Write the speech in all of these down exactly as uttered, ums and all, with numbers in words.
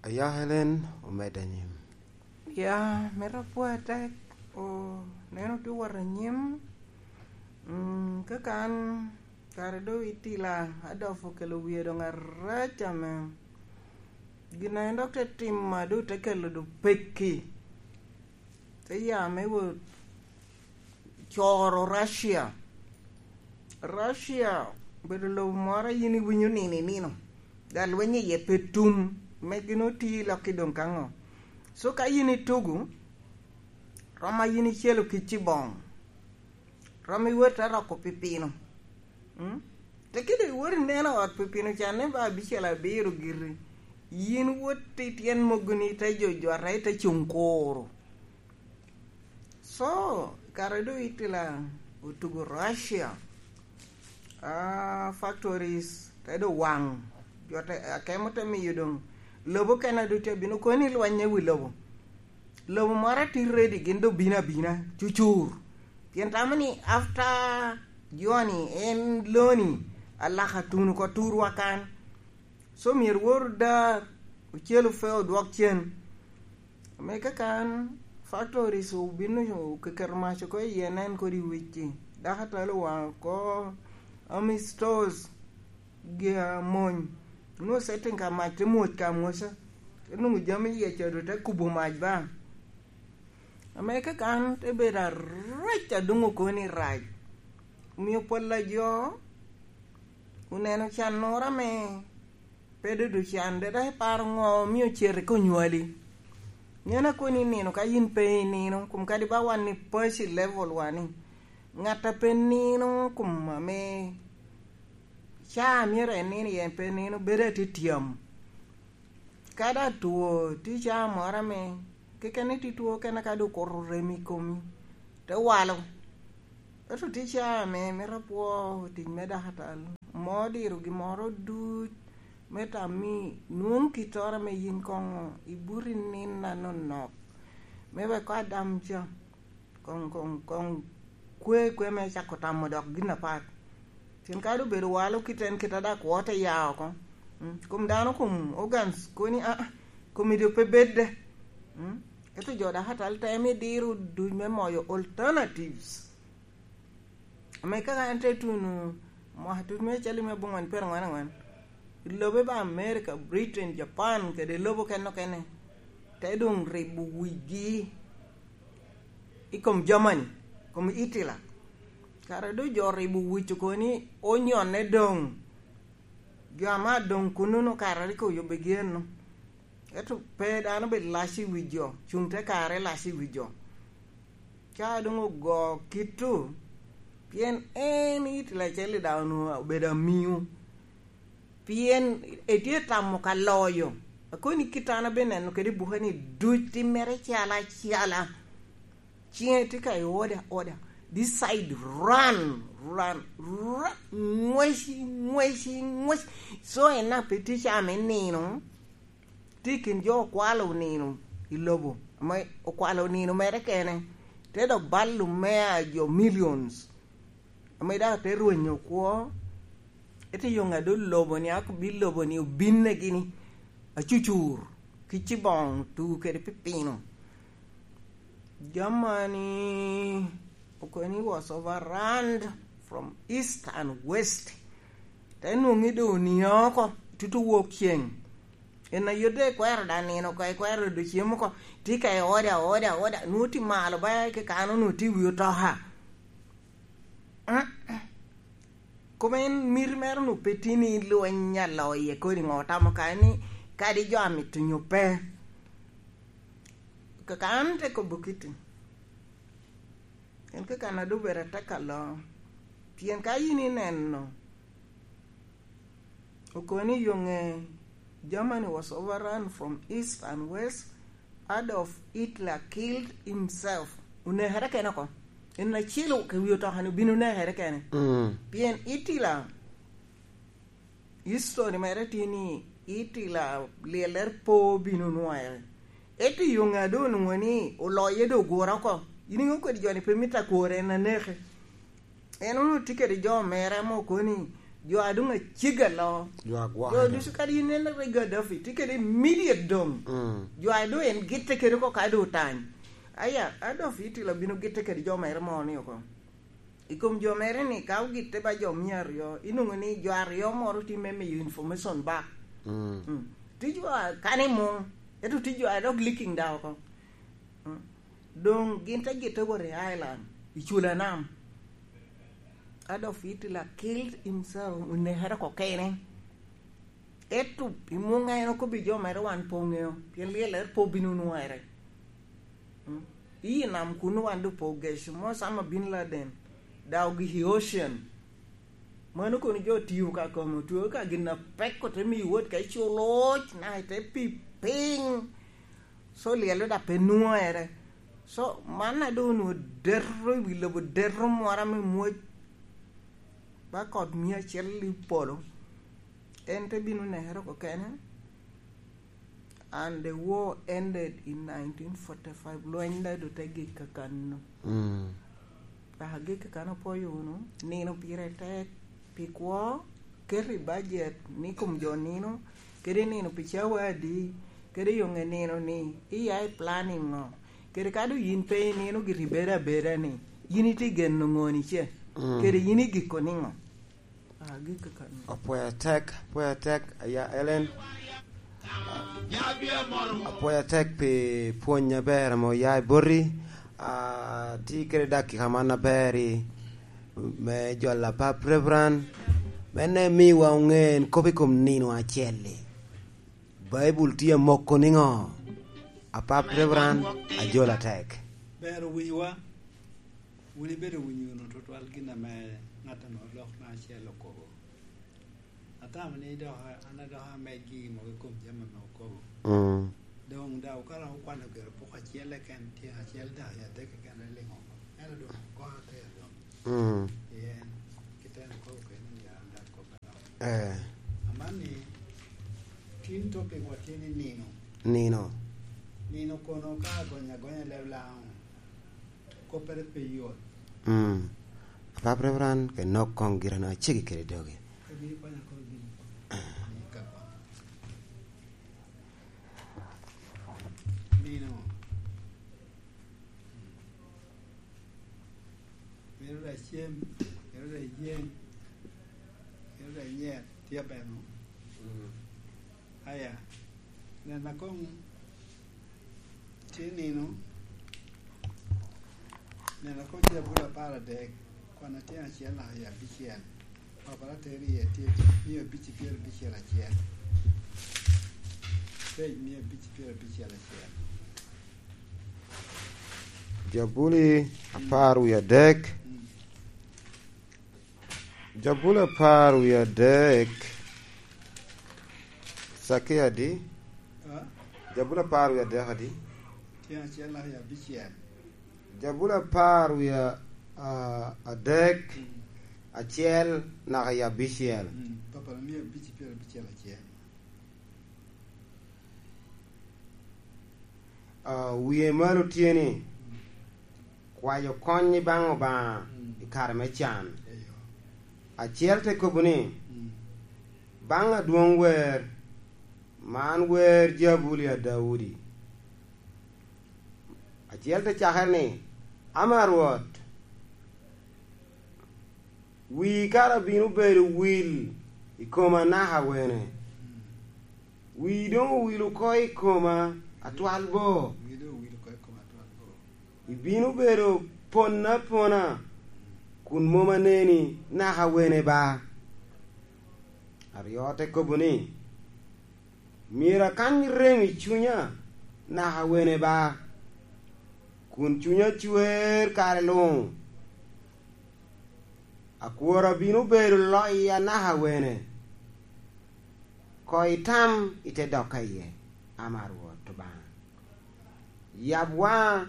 Aya Helen omedde anyim. Ya, mito apwoyo atek. O, neno tye wot anyim. Mm, kaka an kare doŋ itila, Adolf okelo wie doŋ arac ame. Gin a en dok te timo a doŋ te kelo doŋ pekki. Te ya me wot coro Russia. Russia obedo lobo moro a yin iwinyo nino i nino, dok lweny iye pe tum, me gin oti lok i doŋ ka ŋo. So ka yin itugo, rom a yin icelo ki ciboŋ, rom iwot te roko pipino. Mm? Te kede iwot ineno ot pipino can ni ba abicel abiro giri. Yin wot i tyen mogoni ite jojota, ite cuŋ kuro. So, kare doŋ Hitler otugo Russia, ah, factories te doŋ waŋ, jo te, akemo te miyo doŋ lobo kene ducu abino kono ni lweny i wi lobo. Lobo moro atye ready, gin doŋ bino abina, cucur. Pien tamo ni after Johnny, en loni alaka tuno oko turwa kan. So myero wor dar, ocel ofe odwok cen. Ame kaka an, factories obino okeketo mac oko iye, nen kodi wicci. Dako atalo waŋ oko, Army stores, gi amony. Onwoŋo setting ka mac te mwoc ka mwoca. Te nwoŋo jami iye ca doŋ te kubo mac ba. Ame kaka an te bedo arac, adoŋo kono ni rac. Omio pol a jo oneno cannoro ame pe dodo can, de dok iparo ŋo omio cete ka onywali. Nen a kono ni nino ka yin pe inino, kom kadi ba wan ni paci level wa ni, ŋat a pe nino kom ame caa myero en nino iye en pe nino, bedo atyetyamu. Ka daŋ two, tye caa moro ame keken ni tye two kene ka doŋ okuto rem i komi, te walo. Ento tye caa ame mito apwo tic me dakatal, mo diro gimmoro duc, me tam ni nwoŋ kittoro ame yin koŋ ibuto i nino anonok, me wek ko adam ca. Koŋ, koŋ, koŋ kwe, kwe me cako tamo dok gin apat. Pien kadi obedo walo kit en kit a dak kwo te ya oko. Mm, kom dano, kom organs koni, aa, komi doŋ pe bedde. Mm, ento jo dakatal temo idiro duc me moyo alternatives. Ame kaka an te tuno mwaka tut me acel me abongwen pyerangwen angwen, i lobe ba America, Britain, Japan, kede lobo kene okene, te doŋ ribo wigi i kom Germany, kom Hitler. Kara doŋ jo ribo wic oko ni onyonne doŋ. Jo ame adoŋ kunnono kara rik oyubbigi eno. Ento pe dano bed lac i wi jo, cuŋ te kare lac i wi jo. Ca doŋ ogo kito, pien en Hitler acel-li daŋ onwoŋo obedo amiŋo. Pien etye tamo ka loyo. Akoni kit an abineno kede i buke ni duc timmere calo acala. Ciŋe tye ka i order, order. This side, run, run, run. Ŋweci, ŋweci, ŋweci. So en a pe tye ca me nino, tye i kin jo okwalo nino i lobo, ame okwalo nino mere kene, te dok balo mea jo millions, ame daŋ te rwenyo kwo, ete yo ŋa doŋ lobo ni, ako bi lobo ni obinne gini, acucur, ki ciboŋ, tugu kede pipino. Germany okoni was overrun from east and west. Te nwoŋi doŋ onio oko, tutu wok ceng. En a yodde ikwero daŋ nino oko, ikwero doŋ cem oko, tye ka i order, order, order, nwoŋo tye malo ba kekano nwoŋo tye i wi otoka. Koma en miti mere onwoŋo pe tye ni lweny aloyo iye kodi ŋo, otamo kare ni kadi jo amito nyo pe. Kaka an te kobo kiti, en kaka an adobedo ateka lo, pien ka yin ineno, okoni yo ŋe, Germany was overrun from east and west, Adolf Hitler killed himself. Onekere kene oko. En acel ka wi otoka-ni obin onekere kene. Mm. Pien Hitler, history mere tye ni Hitler lyellere pe obin onwoŋere. Ento i yo ŋa doŋ onwoŋo ni oloye doŋ ogure oko. In iŋeo kodi jo-ni pe mito agure, en aneke. En onwoŋo tye kede jo mere ame okoni Jo a doŋ aceggi aloo. Jo agwokere. Jo ducu kadi ineno rik Gaddafi tye kede immediate doŋ. Mm. Jo a doŋ en gitte kede oko ka doŋ otany. Aya, Adolf Hitler bino gitte kede jo mere mo ni oko. I kom jo mere ni, ka ogitte ba jo mia aryo, inwoŋo ni jo aryo moro tye me miyo information back. Mm. Mm. Tye jo a kano i muŋ, ento tye jo a dok leaking da oko. Mm. Doŋ gin te gitte wot i Ireland, i Culanam. Adolf Hitler killed himself, onekere oko kene. Ento i muŋ en okobbi jo mere wan pe oŋeo, pien lyel ere pe obino nwoŋere. Mm. I nam kuno wan doŋ pe ogeco, Osama bin Laden, da ogik i ocean. Mano kono jo tiyo ka kome, otweo ka gin apek ote miyo wot ka iculo oc, naka ite pi piny. So, lyel-lo da pe nwoŋere. So, man a doŋ onwoŋo deto i wi lobo, deto mwora me mwoc. Ba kot mia acel i polo. En te bino nekere oko kene. And the war ended in nineteen forty-five. Lweny da doŋ te gik kakano. Mm. Dok agikki kan opwoyo wunu, nino pire tek pi kwo, ket i bajet ni kom jo nino, kede nino pi cawa adi, kede yoŋe nino ni, iya i planning ŋo, kede ka doŋ yin pe inino giri bedo abeda ni, yin itye geno ŋoni ce, mm, kede yin igiko niŋo? Ah, agikki kan. Apwoyo atek, apwoyo atek, aya Ellen. Apwoyo atek pi pwony aber ame oya i boti. Ah, ti kede dakika man aber-ri me jolo Apap Reverend, me ne miwa oŋe en kop i kom nino acel-li. Baibul tye amoko niŋo? Apap Reverend, ajolo atek. Ber owinyowa. Wun ibedo winyo wunu tutwal gin ame ŋat ame olok me acel okobo. Atamo ni dok an adok ameg gigi mogo i kom jami ame okobo. Mm. Doŋ daŋ okato okwano gero pok acel keken, tyen acel daŋ i adek keken aliŋo oko. Ento doŋ koko ater doŋ. Mm. Pien kite en okobo kene ni an daŋ kop anok. Eh. Aman ni, tin topic wa tye ni nino. Nino. Nino kono ka agonyo agonya leb Laŋo. Koppere pe yot. Mm. Apap Reverend, ke nok koŋ gira na cegi kede dogi. Ka gin ikwanya kono gin. Ni ka kono. Nino. Mito da cem, mito da yeng, mito da nyer, tye bene. Mm. Aya, nena koŋ tye nino, nena koŋ tye abolo apar adek, kwan atyen acel naka i abicel. Papara tero iye tye mia abic pyerabicel acel. Page mia abic pyerabicel acel. Jabuli apar wie adek. Mm. Jabuli apar wie adek. Cakki adi? Ah? Jabuli apar wie adek adi? Tyen acel naka i abicel. Jabuli apar wie, ah, adek, mm, acel naka i abicel. Mm, papara mia abic pyerabicel acel. Ah, wie malo tye ni, mm, kwayo kony i baŋ Obaŋa, mm, i kare me can. Eyo. Acel te kobo ni, mm, baŋ adwoŋ wer, man wer Jabuli a Daudi. Acel te cakere ni, ama Rwot, wii kara bino bedo wil i koma naka wene? Wii doŋ owil oko i koma atwal bo. Wii doŋ owil oko i koma atwal bo. Ibino bedo pona apona, kun mom aneni naka wene ba? Aryo te kobo ni, myero akany rem i cunya naka wene ba, kun cunya cwer kare luŋ. Akwora bino bedo loya naka wene? Koŋ itam ite dok ka iye, ama Rwot Obaŋa. Yab waŋa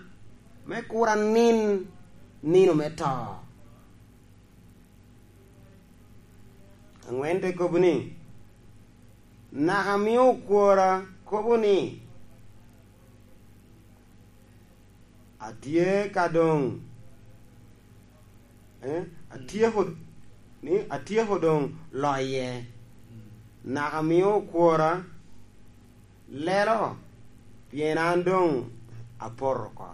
me kur anin nino me to. Aŋwen te kobo ni, naka mio okwora kobo ni, atye ka doŋ, eh, atyeko, ni atyeko doŋ loye, naka mio okwora lelo, pien an doŋ apoto oko.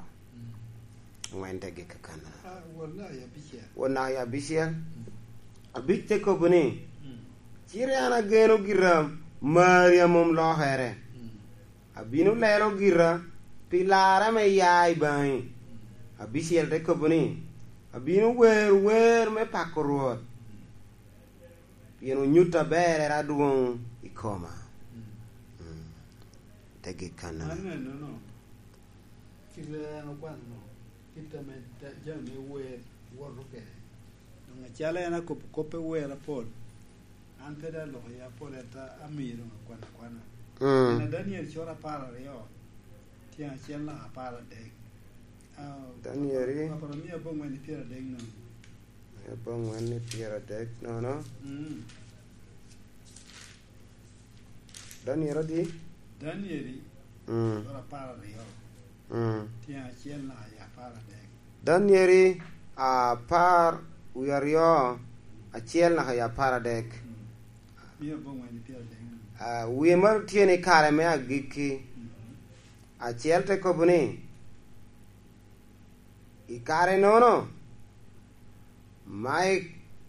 Ŋwen te gik kakana. Ah, won naka ya abicel. Won naka ya abicel. Abic te kobo ni, "Cite an ageno gira mari a mom lokere. Abino lelo gira pi larre ame ya i baŋi." Abicel te kobo ni, "Abino wero wer me pako Rwot, pien onyutta berrere adwoŋ i koma." Mm. Te gik kannono. Anenono, kite en okwano, kite ame da-, jami me wer woto kede. Doŋ acalo en akobo kop me wer apol, an pe dok aloko ya apol, ento amio doŋ akwano akwana. Mm. Pien Daniel coro apar aryo, tyen acel naka apar adek. Ah, Daniel. Apar, apar aryo mia abongwen i pyer adek nono. Mia abongwen i pyer adek nono. Mm. Daniel adi? Daniel, mm, sura apar aryo. Mm. Tyen acel naka i apar adek. Daniel apar wie aryo acel naka i apar adek. Mm. Mia abongwen i pyer adek. Ah, wie maro tye ni kare me agikki. Mm. Acel te kobo ni, "I kare-nono, Mai-,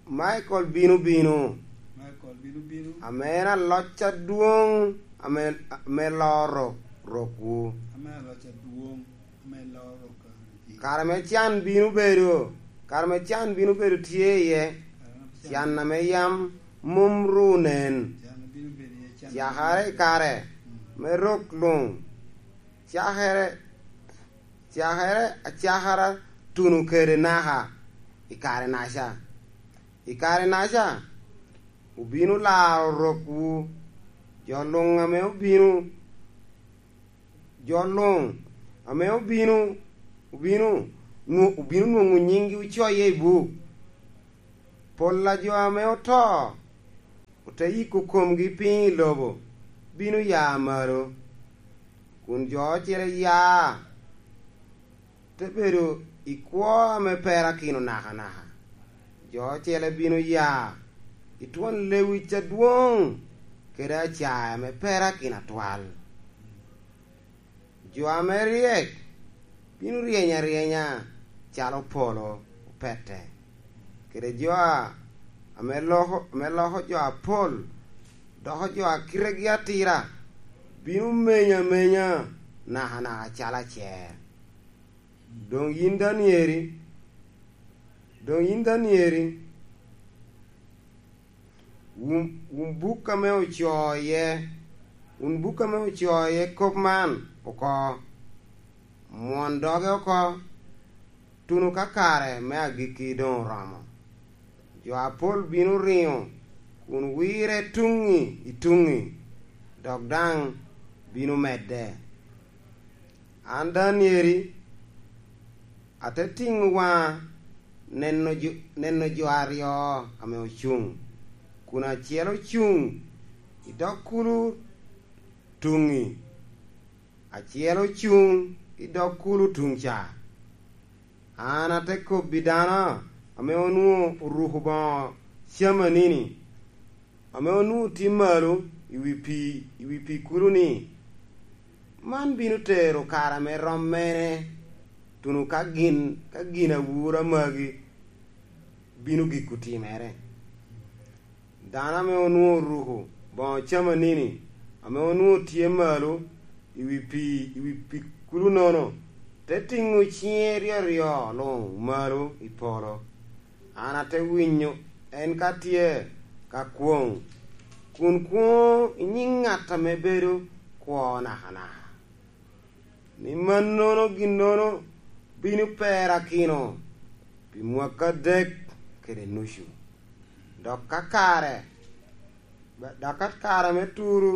Michael bino bino, Michael bino bino, ame en aloc adwoŋ, ame, ame loo rok, rokwu." Ame aloc adwoŋ, ame loo rok. Kare me can bino bedo, kare me can bino bedo tye iye, kare me can, can ame yam mom ru nen. Can bino bedo iye, can cakere i kare, mm, me rok luŋ, cakere, cakere acakara tuno kede naka i kare-naca. I kare-naca, obino laro rokwu, jo luŋ ame obino, jo luŋ ame obino, obino nwo-, obino nwoŋo nyiŋgi ocoye i buk. Pol a jo ame oto, ote yiko komgi piny i lobo, bino ya malo, kun jo ocele ya, te bedo i kwo ame perakino nakanaka. Jo ocele bino ya i twon lewic adwoŋ kede acaya ame perakino atwal. Jo ame ryek bino ryeny aryenya calo polo opete, kede jo a-, ame loko, ame loko jo apol doko jo a kitegi atira bino menyo amenya nakanaka calo acer. Doŋ yin Danieri, doŋ yin Danieri, wun, wun buk ame ocoo iye, wun buk ame ocoo iye kop man oko, mwon doge oko, tuno ka kare me agikki doŋ oromo. Jo apol bino riŋo kun wirre tuŋi i tuŋi, dok daŋ bino medde. An Danieri, ate tiŋo waŋa neno jo, neno jo aryo ame ocuŋ, kun acel ocuŋ i dog kulu tuŋi, acel ocuŋ i dog kulu tuŋ ca. An ate kobbi dano ame onwoŋo oruko boŋo camanini, ame onwoŋo tye malo i wi pii, i wi pii kulu ni, "Man bino tero kare ame rom mene, tuno ka gin, ka gin awura magi bino giko timere?" Dano ame onwoŋo oruko boŋo camanini, ame onwoŋo tye malo i wi pii, i wi pii kulu-nono, te tiŋo ciŋe ryo aryo luŋ malo i polo. An ate winyo en ka tye ka kwoŋ, kun kwoŋo i nyiŋ ŋat ame bedo kwo nakanaka, ni mannono ginnono bino perakino pi mwaka adek kede nucu. Dok ka kare, dok ka kare me turo,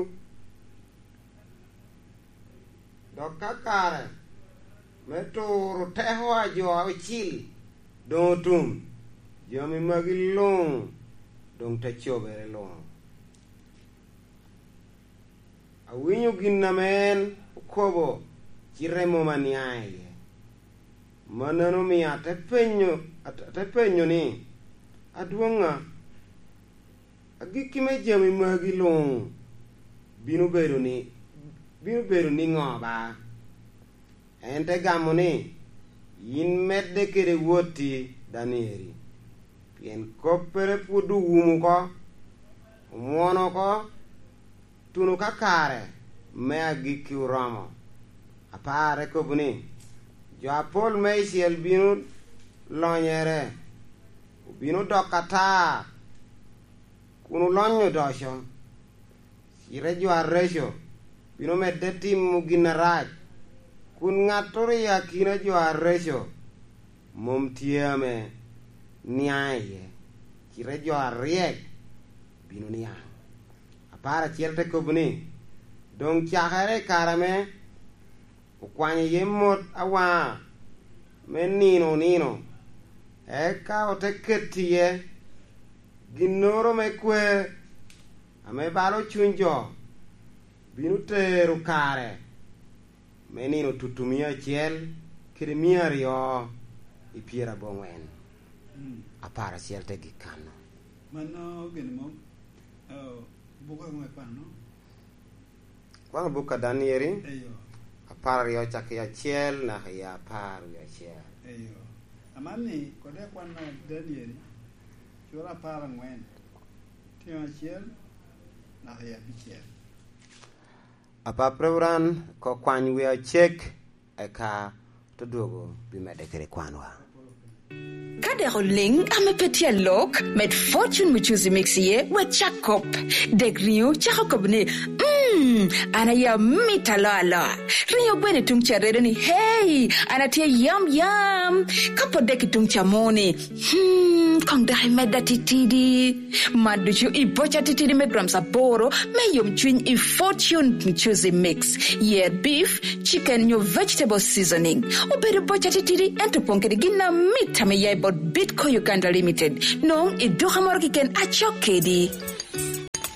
dok ka kare me turo teko a jo aucil doŋ otum, jami magi luŋ doŋ te cobere luŋ. Awinyo gin ame en okobo, cite mom aniaŋ iye. Mannono omio ate penyo, ate, ate penyo ni, "Adwoŋa, Agikki me jami magi luŋ bino bedo ni, bino bedo niŋo ba?" En te gamo ni, "Yin medde kede wotti, Danieri, pien koppere pwod owumo oko, omwono oko, tuno ka kare me agikki oromo." Apar te kobo ni, "Jo apol meicel bino lonyere, obino dok atar, kun olonyo odoco. Cite jo areco bino medde timo gin arac, kun ŋattoro i akina jo areco mom tye ame niaŋ iye, cite jo aryek bino niaŋ." Apar acel te kobo ni, "Doŋ cakere i kare ame okwanyo iye mot awaŋa me nino onino, eka ote keto iye ginnoro me kwer ame balo cuny jo, bino tero kare me nino tutumia acel kede mia aryo i pyeraboŋwen." Mm. Apar acel te gik kanno. Mano gin mom, eh, buka ŋo ikwano? Kwano buk a Danieri, eyo, apar aryo cakki acel naka i apar wie acel. Eyo. Aman ni, kode kwano Danieri, cura apar angwen, tino acel naka i abicel. Apap Reverend, ko kwany wie acek, eka to dwogo bimedde kede kwanwa. Ka dek oliŋ ame pe tye alok, med Fortune Muchuzi Mix iye, wek cak kop. Dek riŋo cako kop ni, "Mm, an aye amit aloa aloa." Riŋo gweno i tuŋ ca redo ni, "Hey, an atye yam yam." Ka pwod dek i tuŋ ca mo ni, "Hmm, koŋ dok imedda titidi." Man ducu i boca titidi me grams aboro me yomcwiny i Fortune Muchuzi Mix. Yer beef, chicken nyo vegetable seasoning. Obedo boca titidi, ento opoŋ kede gin amit ame ya i bot Bitco Uganda Limited. Noŋ i duka moro keken acok kedi.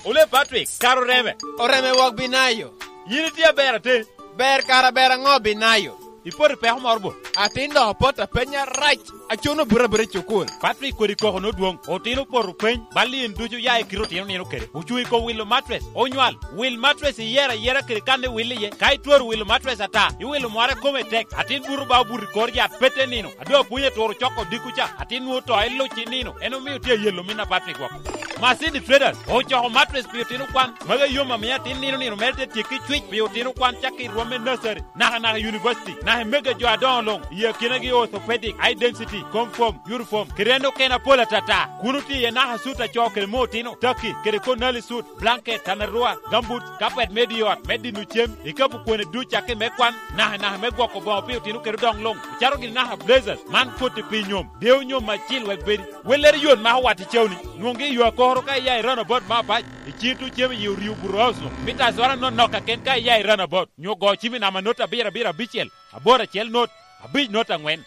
Ole Patrick, kara oreme? Oreme wok binayo. Yin itye aber ate? Ber kara ber aŋo binayo? Ipoto i peko moro bo? Atin doŋ opoto apeny arac. Acuno buto abuta i cukul. Patrick kodi koko nodwoŋ. Otino opoto peny. Bal in ducu ya i kite otino nino kede. Ocuŋ i kom wilo matres. Onywal. Wil matres iyero ayera kede kan iwil iye. Ka itwero wilo matres ata, iwilo mware kome tek. Atin buto ba obuto i kor yat pete nino. Ado apwony aturo coko dikku ca. Atin nwoŋo to iluc i nino. En omio tye ayelo min a Patrick woko. Masini Traders ocoko matres pi otino kwan. Magi yom amiyo atin nino nino mere te tyekki cwic pi otino kwan cakki i rwom me nursery. Naka naka i university, naka i mege jo adoŋo luŋ, i akinagi orthopedic, high density, comfort, uniform, kede en okene apol atata. Kun otye iye naka sut a co kede me otino, taki, kede konali sut, blanket, tanarua, gambut, kapet me di ot, me dino cem, ikapu kwene duc cakki me kwan, naka naka me gwoko boŋo pi otino kede odoŋ luŋ, ocato gini naka blazers, man koti pi nyom, deyo nyom acil wek bedi. Wellere yot mako wat i cawni, nwoŋgi i yo akoro ka iya i runabout me abac, i cito cem i orio buroauso, mita azora nonok kaken ka iya i runabout. Nyo go cim i namba not abiro abiro abicel, aboro acel not, abic not aŋwen.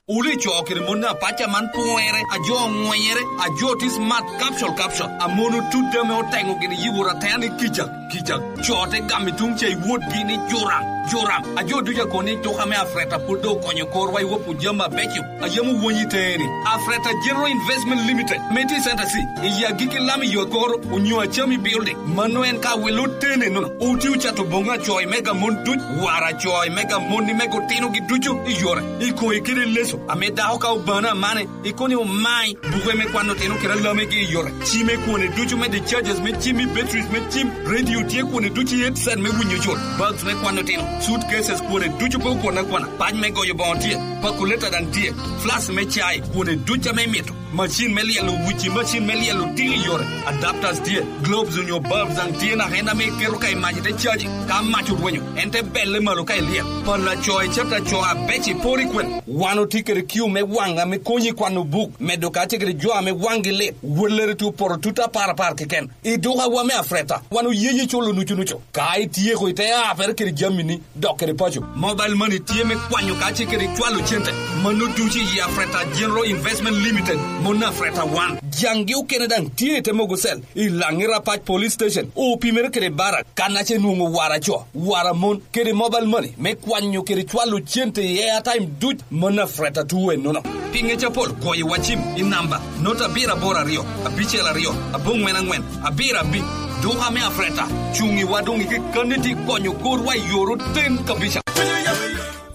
Wule co kede mon apac a man pwere, a jo oŋwenyere, a jo tye smart capsule capsule, a mon otut ame oteŋo gini yiwor atena ni kica, kica. Co te gamo i tuŋ ca i wotgi ni juram, juram. A jo ducu a kono ni tuka me Afreta pwod doŋ okonyo korwa i wop jami abeco. A yam owony i teŋe ni, Afreta General Investment Limited, me tye i Center C, i agikki lam i yo koro, onyo Achami Building. Mano en ka welo tene nono. Oti ocato boŋo acoy mega mon duc, wara acoy mega mon ni mega otinogi ducu i yore. I koŋe kede leso, ame dako ka obano amane, i koni omai, buke me kwano tino kede alamegi i yore. Cime kwone ducu me the charges me cim i batteries me cim, radio tye kwone ducu i headset me winyo jol, bags me kwano tino, suitcases kwone ducu pe okwon akwana, pac me goyo boŋo tye, pakuleta daŋ tye, flask me cai, kwone duc ame imito, macin me lyelo wici, macin me lyelo tiki yore, adapters tye, globes onyo bulbs daŋ tye naka en ame iketo ka i mac ite caji, ka mac orwenyo, en te belle malo ka ilyel. Pala co icet aco abec iporo i kwene. Wan otye kede kiu me waŋ ame konyi kwano buk, medo kacel kede jo ame waŋgi lit, wellere tye oporo tut apar apar keken. I dukawa me Afreta, wan oyeyi culo nucu nucu. Ka ityeko ite apere kede jamini, dok kede paco. Mobile money tye me kwanyo kacel kede cwalo cente. Mano ducu i Afreta General Investment Limited, mon Afreta wan. Jaŋgi okene daŋ tye i te mogo cell, i Laŋi Rapac Police Station, opimere kede barak, kan ace nwoŋo wara co, wara mon, kede mobile money me kwanyo kede cwalo cente i airtime duc, mon Afreta tuwe nono. Pi ngec apol, goyo wa cim i namba not abiro aboro aryo, abicel aryo, aboŋwen aŋwen, abiro abic. Duka me Afreta cuŋ i wa doŋ i kekkanni ti konyo korwa i yor oten kabica.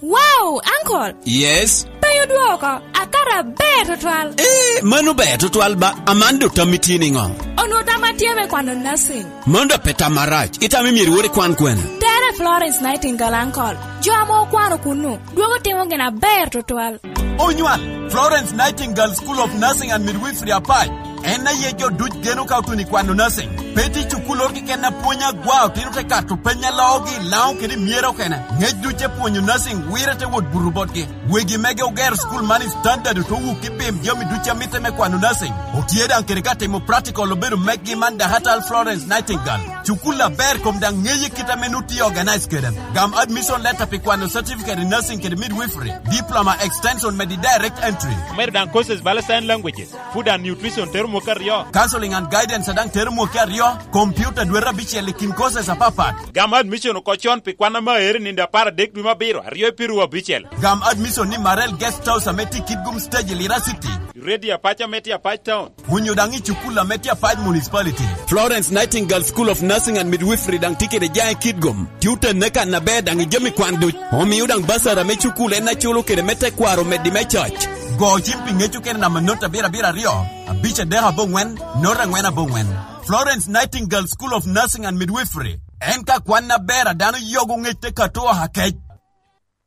Wow, Uncle! Yes? Pe odwoko, akato aber tutwal. Eh, mano ber tutwal ba, aman do tammi tye niŋo? Onwo tam atye me kwano nursing. Mano do pe tam marac, itamo myero iwor ikwan kwene? Tere Florence Nightingale, Uncle. Jo ame okwano kunnu, dwogo timo gin aber tutwal. Onywal, Florence Nightingale School of Nursing and Midwifery Apac. En aye jo duc geno ka otuno i kwano nursing. Pe tye cukul oro keken a pwony agwa, otino te kato peny a loogi i Laŋo kede i myero okene. Ngec duc te pwonyo nursing wire te wot buto botgi. Wegi mege ogero cukul man i standard, oto wuk i pim jami duc a mitte me kwano nursing. Otye daŋ kede ka timo practical obedo meggi man Dahatal Florence Nightingale. Cukul aber kom daŋ ŋeye kit ame nu tye organize kede. Gam admission letter pi kwano certificate in nursing kede midwifery, diploma extension medi direct entry. Omedo daŋ courses bala sign languages, food and nutrition tero mwaka aryo. Counseling and guidance a daŋ tero mwaka aryo, computer dwete abicel i kin courses apapat. Gam admission oko con pi kwan ame aere nindo apar adek dwe me abiro, aryo i piru abicel. Gam admission ni Marel Guest House ame tye i Kitgum Stage i Lira City. Ready Apac ame tye Apac Town. Onyo daŋ i cukul ame tye Apac Municipality. Florence Nightingale School of Nursing and Midwifery daŋ tye kede jaŋ i Kitgum. Tye otenne kan aber daŋ i jami kwan duc. Omio daŋ basara me cukul en aculo kede me tekwaro meddi me coc. Go cim pi ŋec okene namba not abiro abiro aryo, abic adek aboŋwen, not aŋwen aboŋwen. Florence Nightingale School of Nursing and Midwifery. En ka kwan aber a dano yogo ŋec te kato oha kec.